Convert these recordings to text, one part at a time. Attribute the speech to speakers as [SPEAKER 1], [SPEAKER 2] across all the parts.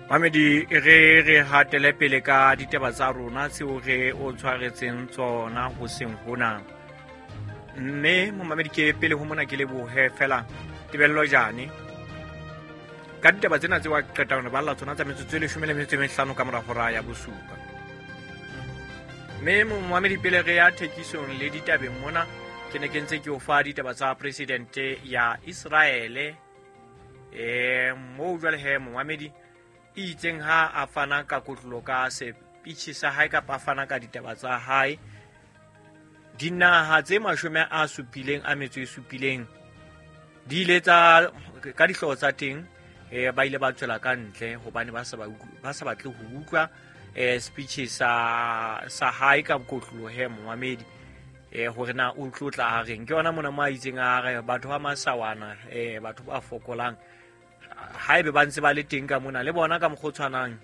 [SPEAKER 1] Mamedi, re re hatele pele ka ditaba tsa rona tseo re o tshwaretseng tsona hoseng hona. Mme momamedi, ke pele ho mona ke lebohe fela tebello jane ka ditaba tsena tseo a qetang re balla tsona tsa metsotso e 15 ka mora hora ya bosupa. Mme momamedi, pele re ya thekisong le ditabeng mona, ke ne ke ntse ke o fa ditaba tsa presidente ya Israele. Moo jwale he momamedi e itseng ha a fana ka kotlolo ka sepitjhe sa hae kapa a fana ka ditaba tsa hae, dinaha tse 77 di ile tsa ka dihlooho tsa teng, ba ile ba tswela ka ntle hobane ba sa batle ho utlwa speech sa hae ka kotlolo he momamedi, hore na o tlotla a reng. Ke yona mona mo a itseng a re batho ba masawana, batho ba fokolang, haebe ba ntse ba le teng ka mona le bona ka mokgwa o tshwanang,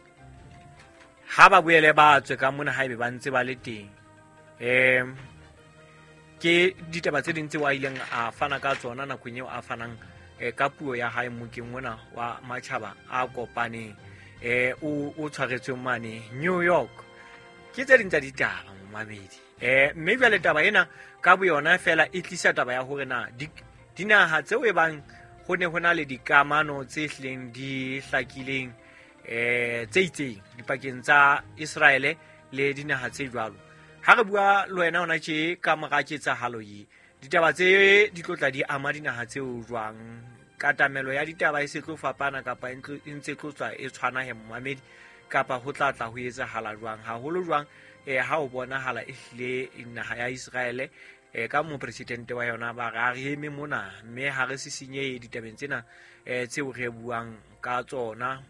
[SPEAKER 1] ha ba boele ba tswe ka mona haebe ba ntse ba le teng. Ke ditaba tse ding tseo a ileng a fana ka tsona nakong eo a fanang ka puo ya hae mokeng ona wa matjhaba a kopaneng, o tshwaretsweng mane New York. Ke tse ding tsa ditaba momamedi. Mme jwale taba ena ka boyona fela e tlisa taba ya hore na dinaha tseo e bang ho ne ho na le dikamano tse hlileng di hlakileng, tse itseng dipakeng tsa Israele le dinaha tse jwalo. Ha re bua le wena hona tje ka mora ketsahalo ye, ditaba tse di tlo tla di ama dinaha tseo jwang? Katamelo ya ditaba e se tlo fapana kapa e ntse tlo tswa e tshwana he momamedi, kapa ho tla tla ho etsahala jwang? Haholo jwang, ha o bonahala e hlile naha ya Israele, ka mopresidente wa yona ba re a re eme mona mme ha re sisinyehe ditabeng tsena, tseo re buang ka tsona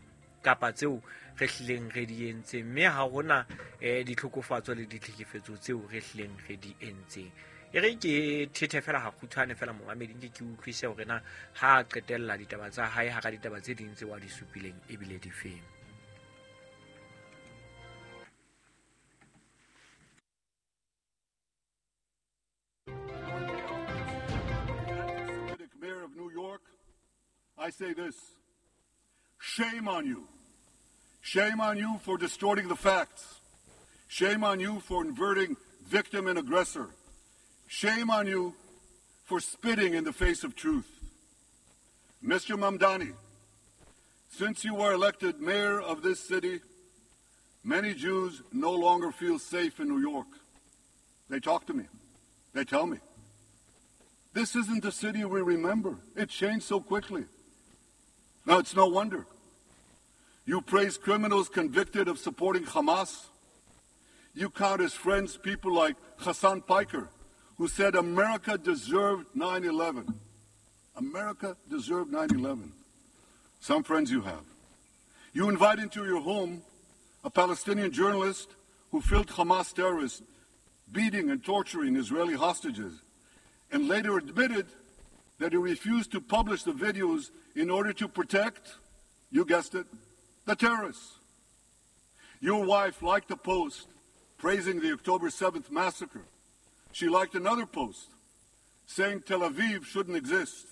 [SPEAKER 1] kapa tseo re hlileng re di entseng, mme ha hona ditlhokofatso le ditlhekefetso tseo re hlileng re di entseng. E re ke thethe fela ha kgutshwane fela momamedi, nke ke utlwise hore na ha a qetella ditaba tsa hae hara ditaba tse ding tseo a di supileng ebile di feng.
[SPEAKER 2] Mayor of New York, I say this: shame on you. Shame on you for distorting the facts. Shame on you for inverting victim and aggressor. Shame on you for spitting in the face of truth. Mr. Mamdani, since you were elected mayor of this city, many Jews no longer feel safe in New York. They talk to me. They tell me. This isn't the city we remember. It changed so quickly. Now, it's no wonder. You praise criminals convicted of supporting Hamas. You count as friends people like Hassan Piker, who said America deserved 9/11. America deserved 9/11. Some friends you have. You invite into your home a Palestinian journalist who filmed Hamas terrorists beating and torturing Israeli hostages, and later admitted that he refused to publish the videos in order to protect, you guessed it, the terrorists. Your wife liked a post praising the October 7th massacre. She liked another post saying Tel Aviv shouldn't exist.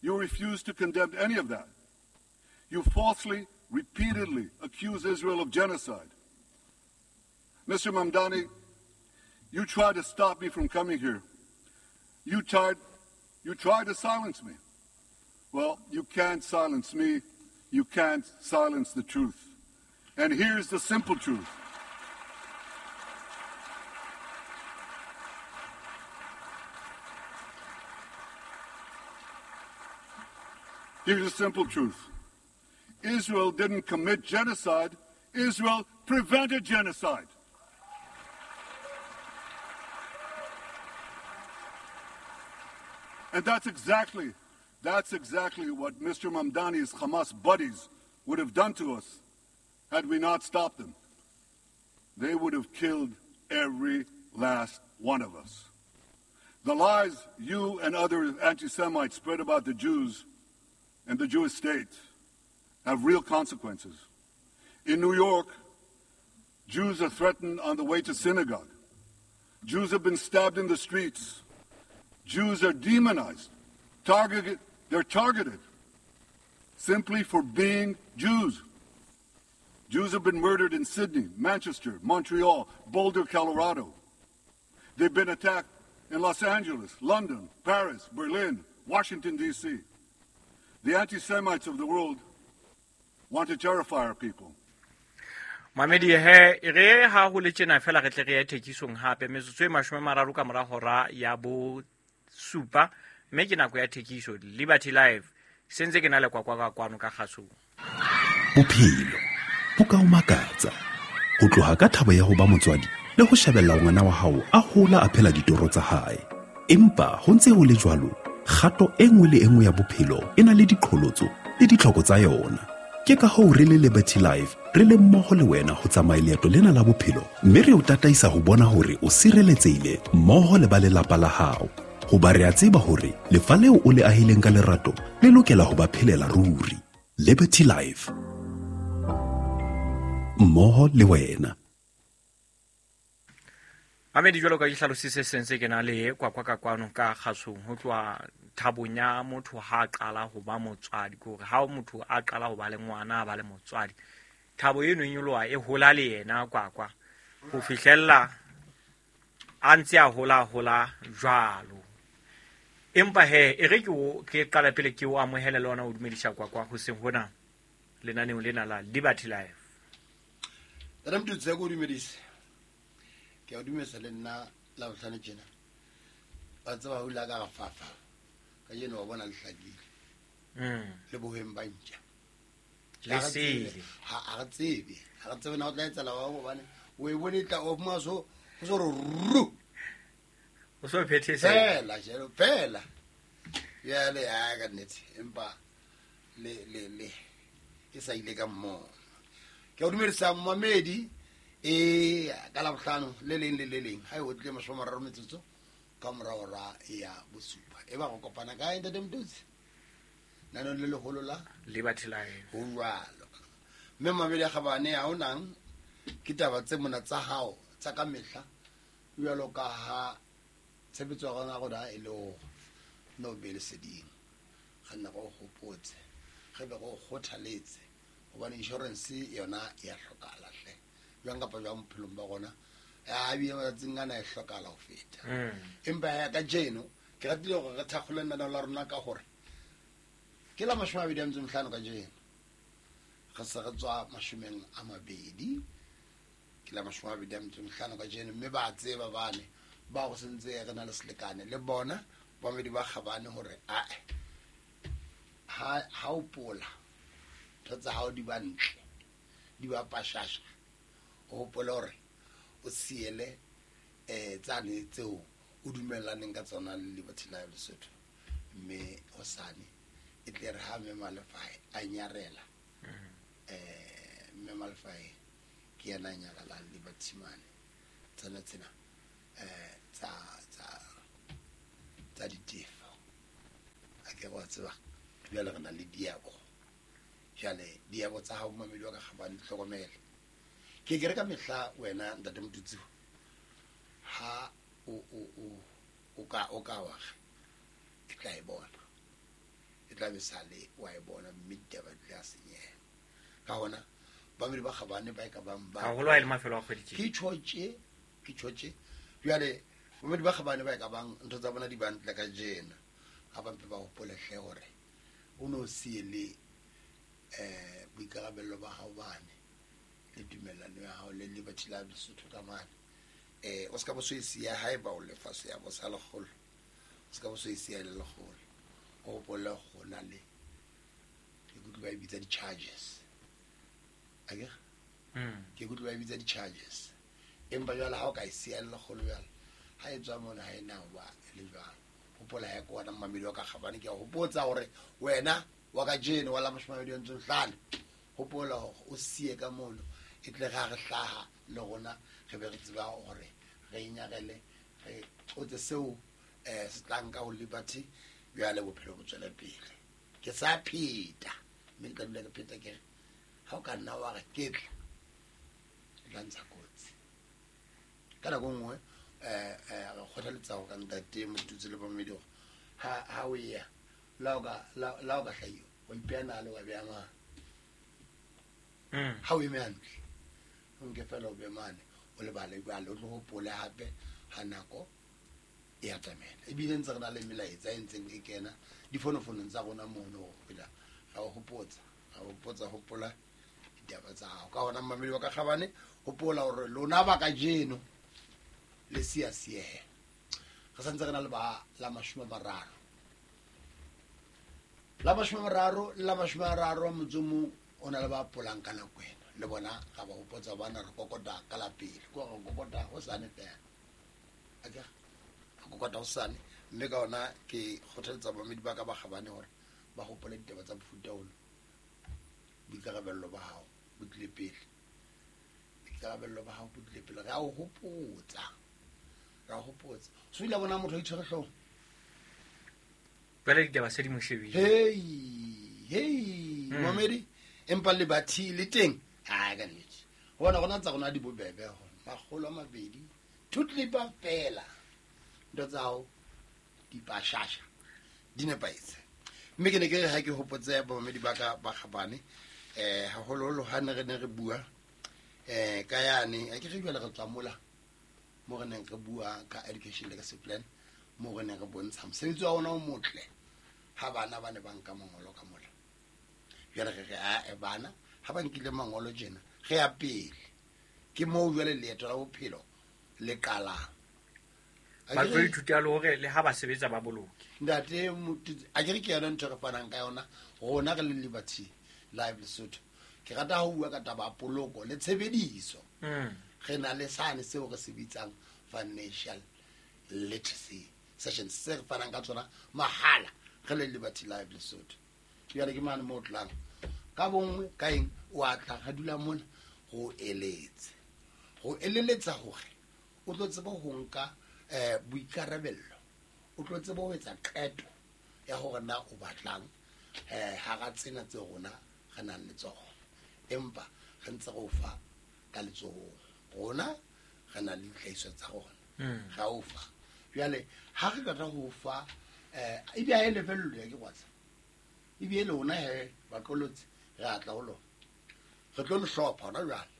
[SPEAKER 2] You refused to condemn any of that. You falsely, repeatedly accuse Israel of genocide. Mr. Mamdani, you tried to stop me from coming here. You tried to silence me. Well, you can't silence me. You can't silence the truth. And here's the simple truth. Here's the simple truth. Israel didn't commit genocide. Israel prevented genocide. And that's exactly what Mr. Mamdani's Hamas buddies would have done to us had we not stopped them. They would have killed every last one of us. The lies you and other anti-Semites spread about the Jews and the Jewish state have real consequences. In New York, Jews are threatened on the way to synagogue. Jews have been stabbed in the streets. Jews are demonized. They're targeted simply for being Jews. Jews have been murdered in Sydney, Manchester, Montreal, Boulder, Colorado. They've been attacked in Los Angeles, London, Paris, Berlin, Washington, D.C. The anti-Semites of the world want to terrify our people.
[SPEAKER 1] Mamedi he re ha ho le tjena fela re tle re ye thekisong hape metsotso e 30 ka mora hora ya bo supa mme ke nako ya thekiso Liberty Live sentse ke na le kwakwa ka kwano ka kgasong.
[SPEAKER 3] Bophelo bo ka o makatsa ho tloha ka thabo ya ho ba motswadi le ho shebella ngwana wa hao a hola a phela ditoro tsa hae. Empa ho ntse ho le jwalo, kgato e nngwe le e nngwe ya bophelo e na le diqholotso le ditlhoko tsa yona. Ke ka hoo re le Liberty Life re le mmoho le wena ho tsamaya leeto lena la bophelo mme re o tataisa ho bona hore o sireletsehile mmoho le ba lelapa la hao. Hoba re a tseba hore lefa leo o le ahileng ka lerato le lokela ho ba phelela ruri. Liberty Life, mmoho le wena.
[SPEAKER 1] Mamedi jwalo ka ke hlalositse sentse ke na le kwakwa ka kwano ka kgasong ho tloha thabong ya motho ha a qala ho ba motswadi, ke hore ha motho a qala ho ba le ngwana a ba le motswadi, thabo eno e nyoloha e hola le yena kwakwa ho fihlella a ntse a hola hola jwalo. Empa he e re ke qala pele ke o amohele le ona o dumedisa kwakwa ho seng hona lenaneong lena la Liberty Life.
[SPEAKER 4] Tata Mtutsi ko dumedise. Ke a dumedisa le nna la bohlano tjena. Ba tseba ho la ka fafa. Ka jeno wa bona le hlakile. Le bohweng ba ntja.
[SPEAKER 1] Le sele.
[SPEAKER 4] Ha re tsebe. Ha re tsebe na o tla etsala wa hobane o e bone tla o mwa so o so ru.
[SPEAKER 1] O so phethese.
[SPEAKER 4] Fela jelo fela. Yale ya ka nnete empa le le le e sa ile ka mmoho. Ke o dumedisa momedi e ka la bohlano le leng le le leng ha e o tle 30 metsotso ka mora hora ya bosupa e ba go kopana kae ntate Mtutsi nano le leholo la
[SPEAKER 1] Liberty Life
[SPEAKER 4] ho jwalo mme mamedi a kgabane ha o nang ke taba tse mona tsa hao tsa ka mehla jwalo ka ha tshebetso ya rona rona e le ho no be leseding ga nna go hopotse ge be go kgothaletse hobane insurance yona ya hlokahala hle jwang kapa jwang bophelong ba rona a bile matsatsing ana e hlokahala ho feta. Empa ya ka jeno ke ratile hore re thakgole lenaneo la rona ka hore ke la 25 ka jeno re se re tswa 20 ke la 25 ka jeno mme ba tseba bane ba go sentse re na le selekane le bona ba medi ba kgabane hore ae ha o pola ntho tsa hao di ba ntle di ba pashasha o hopole hore o siele tsane tseo o dumellaneng ka tsona le Liberty Life Lesotho mme hosane e tle re ha mme Malefai a nyarela mme Malefai ke yena a nyarelang Liberty mane tsona tsena tsa ditefo a ke wa tseba jwale re na le diabo jwale diabo tsa hao mamedi wa ka kgabane tlhokomele ke ke re ka mehla wena ntate Mtutsi ha o ka wa ke tla e bona e tla be sale wa e bona mme ditaba di tla senyeha ka hona bamedi ba kgabane ba e ka bang ba
[SPEAKER 1] haholo ha e le mafelo a kgwedi
[SPEAKER 4] ke tjhotje jwale bamedi ba kgabane ba e ka bang ntho tsa bona di ba ntle ka jena ga ba mpe ba hopole hle hore o no siele boikarabello ba hao bane le tumellano ya hao le Liberty Life Lesotho ka mane o ska bo so e siya haeba o lefa se ya bo sa lekgolo o ska bo so e siya le lekgolo o hopole go na le ke kutlwa ba e bitsa di-charges akere ke kutlwa ba e bitsa di-charges empa jwale ha o ka e siya le lekgolo jwale ha e tswa mona ha e na hoba le jwalo hopola ya ko wena mmamedi wa ka kgabane ke a hopotsa hore wena wa ka jeno wa la 25 hopola hore o siye ka mono e tle ga re hlaha le rona re be re tseba hore re inyarele re qotse seo se tlang ka ho Liberty jwale bophelo bo tswele pele ke sa pheta mme ke tla dula ke pheta ke re ha o ka nna wa re ke tla tla ntsha kotsi ka nako nngwe re kgothaletsa ho ka ntate Motutsi le Mamedi hore ha o ya la o ka hlahiwa wa ipeha nale wa beha mang Ha o eme hantle, o nke fela o be mane o lebale jwale, o tlo hopole hape ha nako e atamela. Ebile ntse re na le melaetsa e ntseng e kena difonofonong tsa rona mono ho phela ra o hopotsa, ra hopotsa, hopola ditaba tsa hao. Ka hona mmamedi wa ka kgabane, hopola hore lona ba kajeno le siya siehe. Re santse re na le ba la 30. La 30 le la 30 motsomo o na le ba polang ka nako ena. Le bona ga ba hopotsa bana re kokota ka la pele. Ko re kokota ho sane fela. Akere re kokota ho sane, mme ka hona ke kgothaletsa bamedi ba ka ba kgabane hore ba hopole ditaba tsa mofuta ono. Boikarabello ba hao bo tlile pele. Boikarabello ba hao bo tlile pele. Re a o hopotsa. Re a o hopotsa. So ile bona motho a itshwere hlooho.
[SPEAKER 1] Jwale ditaba se di mo shebile.
[SPEAKER 4] Hey, hey, momedi, empa le bathi le teng. Ai ka nnete. Bona rona tsa rona di bobebe ho. 200, two clipper fela. Ntho tsa hao di pashasha. Di nepahetse. Mme ke ne ke re ha ke hopotse bamamedi ba ka ba kgabane, haholoholo ha ne re ne re bua, ka yane, ha ke re jwale re tswa mola, mo re neng re bua ka education legacy plan, mo re neng re bontsha mosebetsi wa rona o motle ha bana ba ne ba nka mangolo ka mola. Jwale re re, ae, bana ha ba nkile mangolo tjena, re ya pele. Ke moo jwale leeto la bophelo le qalang.
[SPEAKER 1] Ba tlo ithuta le hore le ha ba sebetsa ba boloke.
[SPEAKER 4] Ntate Motutsi, a ke re ke yona ntho e re fanang ka yona rona re le Liberty Live Lesotho. Ke rata ho bua ka taba ya poloko le tshebediso. Re na le sane seo re se bitsang financial literacy sessions se re fanang ka tsona mahala re le Liberty Live Lesotho. Jwale ke mane moo tlang ka bonngwe ka eng o a tla ra dula mona ho eletse. Ho eleletsa hore o tlo tseba ho nka boikarabello, o tlo tseba ho etsa qeto ya hore na o batlang, hara tsena tse rona re nang le tsona, empa re ntse re o fa ka letsohong. Rona re na le dihlahiswa tsa rona, ra o fa. Jwale ha re qeta ho fa, ebe ha e lefellwe ya ke kwatsa, ebe lona he baqolotsi re a tla ho lona, re tlo le hlopha hona jwale,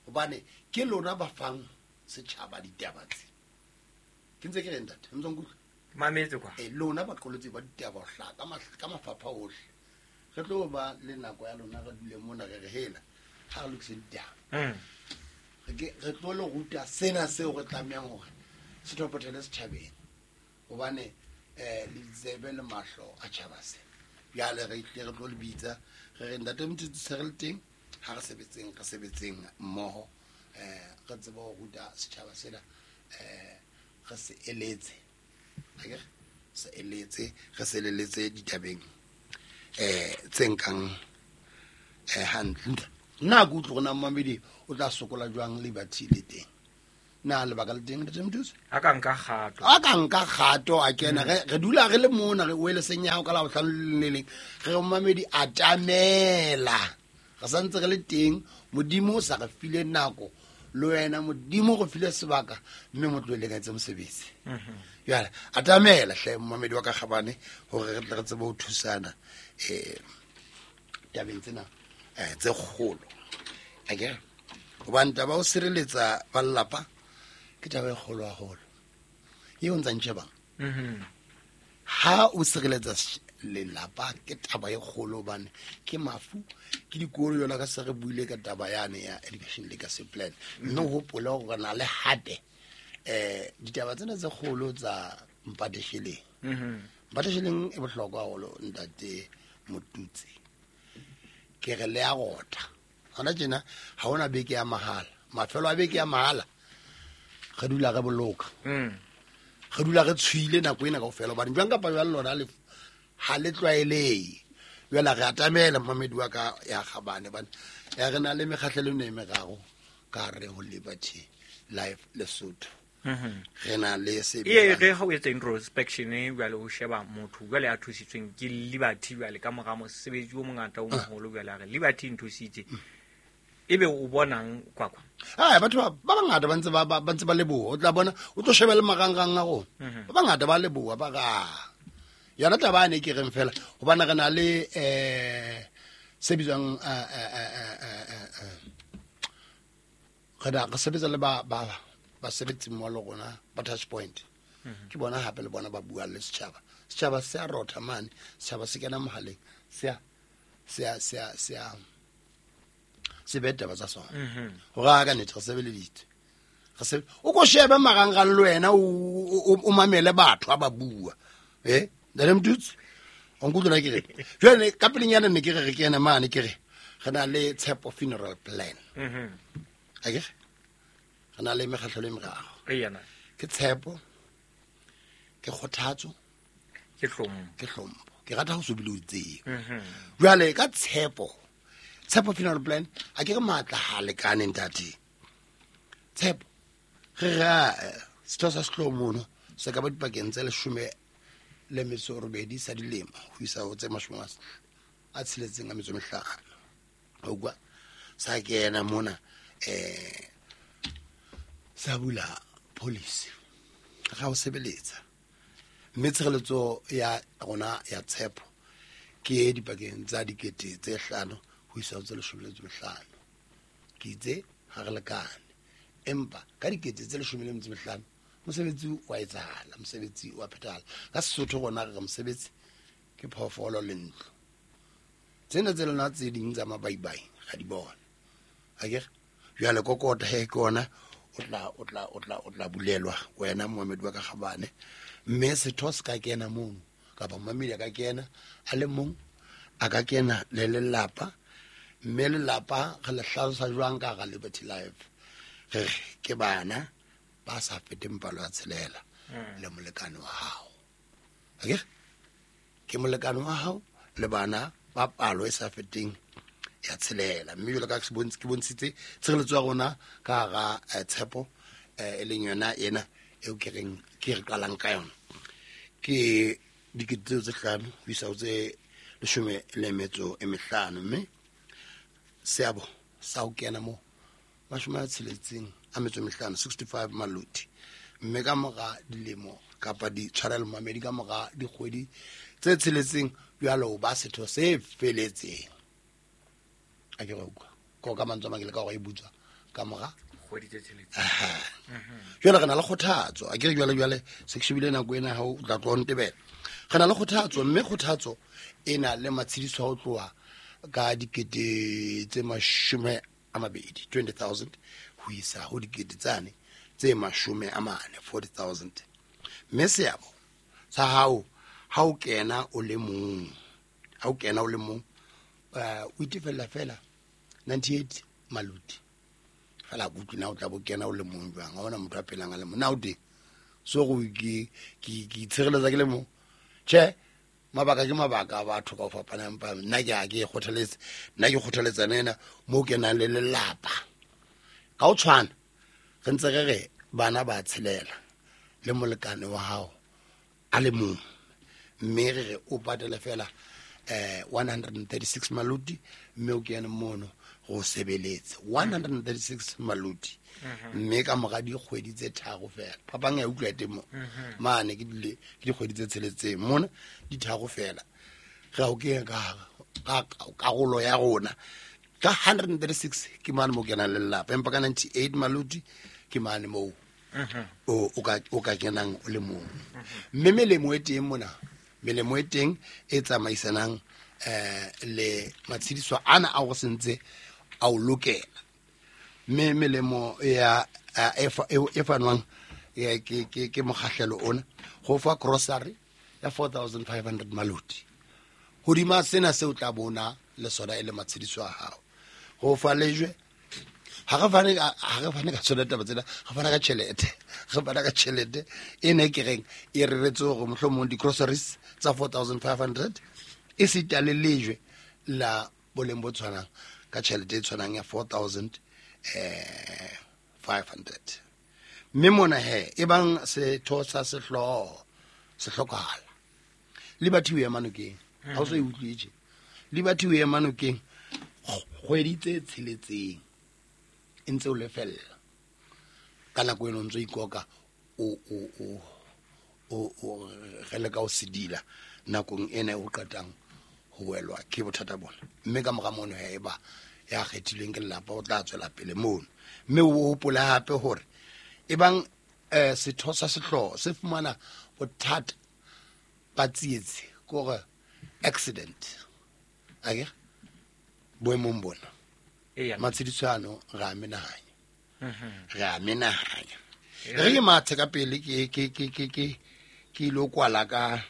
[SPEAKER 4] hobane ke lona ba fang setjhaba ditaba tse. Ke ntse ke re ntate, ntse nkutlwa?
[SPEAKER 1] Mametse kwa.
[SPEAKER 4] Lona baqolotsi ba ditaba ho hlaha ka mafapha ohle. Re tlo ba le nako ya lona re dule mona re re hela ha re lokise ditaba. Re tlo le ruta sena seo re tlamehang hore se thopothele setjhabeng, hobane, le ditsebe le mahlo a tjhaba se. Jwale re tle re tlo le bitsa re re ntate Motutsi se re le teng, ha re sebetseng, re sebetseng mmoho, re tsebe ho ruta setjhaba sena, re se eletse. Akere? Se eletse, re se eletse ditabeng, tse nkang, hantle. Nna ke utlwe hore na mmamedi o tla sokola jwang Liberty le teng. Na lebaka le teng, Ntate Motutsi?
[SPEAKER 1] A ka nka kgato.
[SPEAKER 4] A ka nka kgato, a kena. Re dula re le mona, re wele seng ya hao ka Labohlano le le leng. Re re mmamedi atamela. Re santse re le teng, Modimo o sa re file nako, le wena Modimo o re file sebaka, mme mo tlohele ka etse mosebetsi. Jwale, atamela hle mmamedi wa ka kgabane, hore re tle re tsebe ho thusana, tabeng tsena, tse kgolo. Akere? Hobane taba ya ho sireletsa ba lelapa ke taba e kgolo haholo. Eo ntsa ntjhebang. Ha o sireletsa lelapa ke taba e kgolo, hobane ke mafu, ke dikolo jwalo ka se re buile ka taba yane ya education legacy plan. Mme o hopole hore re na le hape, ditaba tsena tse kgolo tsa mpatesheleng. Mpatesheleng e bohlokwa haholo ntate Motutsi. Ke re le a rota. Hona tjena ha hona beke ya mahala. Mafelo a beke ya mahala re dula re boloka. Re dula re tshwile nako ena kaofela, hobane jwang kapa jwang lona le ha le tlwaelehe. Jwale re atamela mmamedi wa ka ya kgabane, hobane ya re na le mekgahlelo ena e meraro ka hare ho Liberty Life Lesotho. Re na le se
[SPEAKER 1] Ee,
[SPEAKER 4] bitswang
[SPEAKER 1] re ha o etsa introspection jwale o sheba motho jwale a thusitsweng ke Liberty jwale ka mora mosebetsi o mongata o moholo jwale a re Liberty e nthusitse. Ebe o bonang kwakwa?
[SPEAKER 4] Ai, batho ba bangata ba ntse ba ntse ba leboha. O tla bona, o tlo sheba le marangrang a rona. Ba bangata ba leboha, ba ra. Yona taba ane ke reng fela, hobane re na le, se bitswang, Re sebetsa le ba basebetsi mmoho le rona ba Touch Point. Ke bona hape le bona ba buang le setjhaba. Setjhaba se a rotha mane, setjhaba se kena mohaleng, se se be taba tsa sona. Hore a ka nnete re sebeleditse. O ko shebe marangrang le wena o mamele batho ha ba bua. Ntate Motutsi, o nkutlwa ke re. Jwale ka pelenyana ne ke re re kene mane ke re re na le Tshepo funeral plan. Akere? Re na le mekgatlho e meraro. Ke tshepo, ke kgothatso,
[SPEAKER 1] ke hlompho.
[SPEAKER 4] Ke hlompho. Ke rata ho sobile o tseo. Jwale ka tshepo, Tshepo funeral plan a ke re matla ha lekane ntate. Tshepo re ra setho sa sehlooho mono se ka ba dipakeng tse 18 sa dilemo ho isa ho tse 65. O kwa sa kena mona sa bula policy ga o sebeletsa mme tshireletso ya rona ya tshepo ke dipakeng tsa 5,000 ho isa ho tse 15. Ke itse ha re lekane, empa ka 15,000 mosebetsi wa etsahala, mosebetsi wa phethahala. Ka Sesotho rona re re mosebetsi ke phoofolo le ntlo. Tsena tse lona tse ding tsa mabaibai ga di bona. Akere jwale kokota he ke ona o tla bulelwa wena Mohammed wa ka Gabane, mme setho se ka kena mono kapa mamedi a ka kena a le mong, a ka kena le lelapa, mme lelapa re le hlalosa jwang ka hara Liberty Life? Re ke bana ba sa feteng palo ya 6 le molekane wa hao. Akere ke molekane wa hao le bana ba palo e sa feteng ya 6. Mme jwalo ka ke bontshitse tshireletso ya rona ka hara tshepo e leng yona ena eo ke reng ke re qalang ka yona ke 5,000 ho isa ho tse 15. Mme seabo sa ho kena mo 65, 65 maloti. Mme ka mora dilemo kapa ditshwarelo mamedi ka mora dikgwedi tse 6 jwalo ba setho se feletseng. A ke re utlwa ko ka mantswe a mang ke le ka hore e butswa ka mora
[SPEAKER 1] kgwedi tse 6.
[SPEAKER 4] Jwale re na le kgothatso. A ke re jwale se ke shebile nako ena ha o tla tloha ntebela. Re na le kgothatso, mme kgothatso e na le matshediso a ho tloha ka 20,000, 20,000 ho isa ho 40,000, 40,000. Mme seabo sa hao ha o kena o le mong, o itefella fela 98 maloti. Fela kutlwe na o tla bo kena o le mong jwang? Ha hona motho a phelang a le mong. Na o teng? So go ke itshireletsa ke le mong. Tjhe, mabaka ke mabaka a batho ka ho fapana, empa nna ke a ke kgothaletse, nna ke kgothaletsa ena mo kenang le lelapa. Ka ho tshwana re ntse re re bana ba tshelela le molekane wa hao a le mong, mme re re o patele fela 136 maloti, mme o kene mono go sebeletse 136 maloti. Mme ka mora dikgwedi tse 3 fela, phapang ya utlwa teng mo mane ke dikgwedi tse 6 mona di 3 fela re o kenya ka karolo ya rona ka 136 ke mane mo kenang le lelapa, empa ka 98 maloti ke mane mo o ka kenang o le mong. Mme melemo e teng mona, melemo e teng e tsamaisanang le matshediso ana a go sentse a o lokela. Mme melemo ya e fanwang ke mokgahlelo ona go fa grocery ya 4,500 maloti. Hodima sena seo tla bona le sona e le matshediso a hao. Go fa lejwe, ha re fane ka tsona taba tsena, re fana ka tjhelete. Re fana ka tjhelete e ne ke reng e reretse hore mohlomong di-groceries tsa 4,500 e sita le lejwe la boleng bo tshwanang ka tjhelete e tshwanang ya 4,500. Mme mona he e bang setho sa sehlooho se hlokahala, Liberty o ema nokeng. Ha o so e utlwetse, Liberty o ema nokeng kgwedi tse 6 e ntse o lefella. Ka nako eno ntse o ikoka o re leka o sedila nakong ena e o qetang ho welwa ke bothata bona. Mme ka mora mono he eba Ya kgethilweng ke lelapa o tla tswela pele mono. Mme o hopole hape hore ebang setho sa sehlooho se fumana bothata ba tsietsi, ke hore accident, akere boemong bona matshediso ano re a menahanya, re a menahanya. Re ke mathe ka pele, ke ilo kwala ka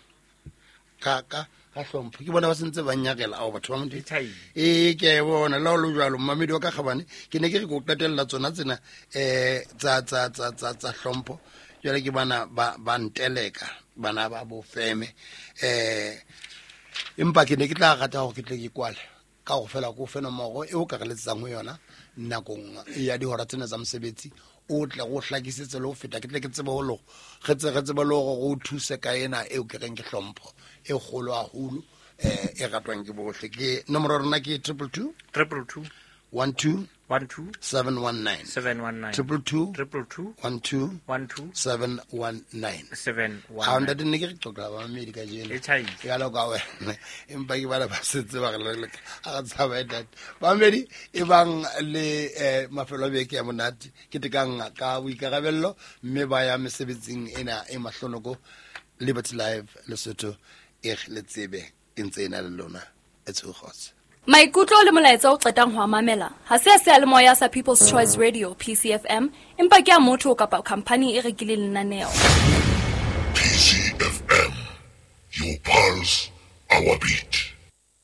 [SPEAKER 4] ka ka ka hlompho. Ke bona ba sentse ba nnyakela ao batho ba Modimo. Ee, ke a e bona la o le jalo mmamedi wa ka kgabane. Ke ne ke re ke o qetella tsona tsena tsa hlompho. Jwale ke bana ba nteleka, bana ba bofeme, empa ke ne ke tla rata hore ke tle ke kwale ka go fela ko fe nomoro e o ka re letsetsang ho yona nakong ya dihora tsena tsa mosebetsi, o tle go hlakisetse le ho feta, ke tle ke tsebe ho lo re tsebe le hore go thuse ka ena eo ke reng ke hlompho e kgolo haholo, e ratwang ke bohle. Ke nomoro ya rona ke 222
[SPEAKER 1] 222
[SPEAKER 4] 12
[SPEAKER 1] 12
[SPEAKER 4] 719
[SPEAKER 1] 719
[SPEAKER 4] 222
[SPEAKER 1] 222
[SPEAKER 4] 12
[SPEAKER 1] 12
[SPEAKER 4] 719.
[SPEAKER 1] 719.
[SPEAKER 4] Ha ntate, ne ke re qoqela ba mamedi kajeno
[SPEAKER 1] E tjhaile.
[SPEAKER 4] Jalo ka wena, empa ke bana ba setse ba re a re tshaba ntate. Bamedi e bang le mafelo a beke ya monate, ke tekang ka boikarabello mme ba ya mesebetsing ena e mahlonoko. Liberty Live Lesotho e le tsebe e ntse e na le lona e tshogotse.
[SPEAKER 5] Maikutlo le molaetsa o qetang ho a mamela ha se a seyalemoya sa People's Choice Radio, PCFM, empa ke a motho kapa khamphani e rekileng lenaneo.
[SPEAKER 2] PCFM, your pulse, our beat.